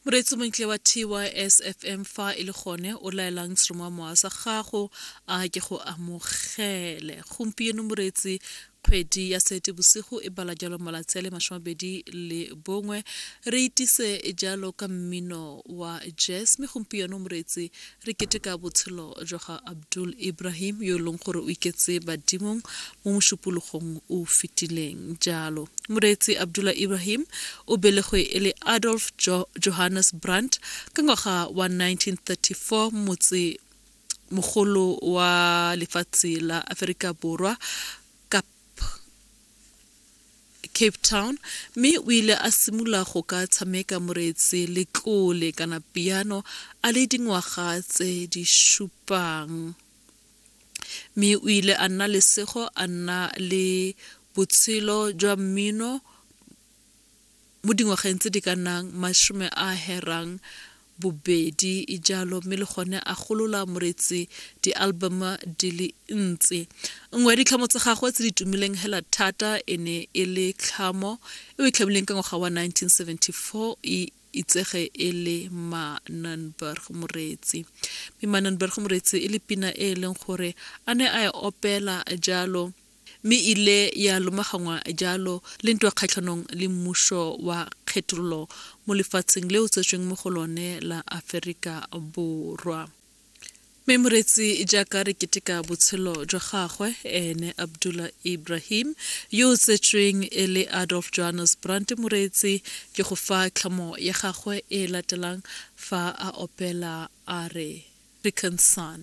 Moreetsi montle wa TYSFM fa e le gone o laelang seromamowa sa gago a ke go amogele. Gompieno moreetsi kgwedi ya Seetebosigo e bala jalo malatsi a le 21 re itise jalo ka mmino wa jazz mme gompieno moreetsi Re keteka botshelo jwa ga Abdul Ibrahim yo e leng gore o iketse badimong mo mošupologong o fetileng jalo. Moreetsi Abdullah Ibrahim o belegwe e le Adolf jo Johannes Brandt ka ngwaga wa 1934 motse mogolo wa lefatshe la Aferika Borwa Cape Town mme o ile a simolola go ka tshameka moreetsi letlole kana piano a le dingwaga tse di supang. Mme o ile a nna lesego a nna le botshelo jwa mmino mo dingwageng tse di ka nnang masome a herang bobedi jalo mme le gone a golola moretsi di-album di le ntsi. Nngwe ya ditlhamo tsa gagwe tse di tumileng hela thata e ne e le tlhamo e o e tlhamileng ka ngwaga wa 1974 e itsege e le Manenberg Moreetsi. Mme Manenberg Moreetsi e le pina e e leng gore a ne a e opela jalo mme ile ya lomagangwa jalo le ntwa kgatlhanong le mmuso wa kgethololo mo lefatsheng le o tsetsweng mo go lone la Aferika Borwa. Mme moreetsi jaaka re keteka botshelo jwa gagwe ene Abdullah Ibrahim yo o tsetsweng e le Adolf Johannes Brandt moreetsi ke go fa tlhamo ya gagwe e latelang fa a opela a re African Son.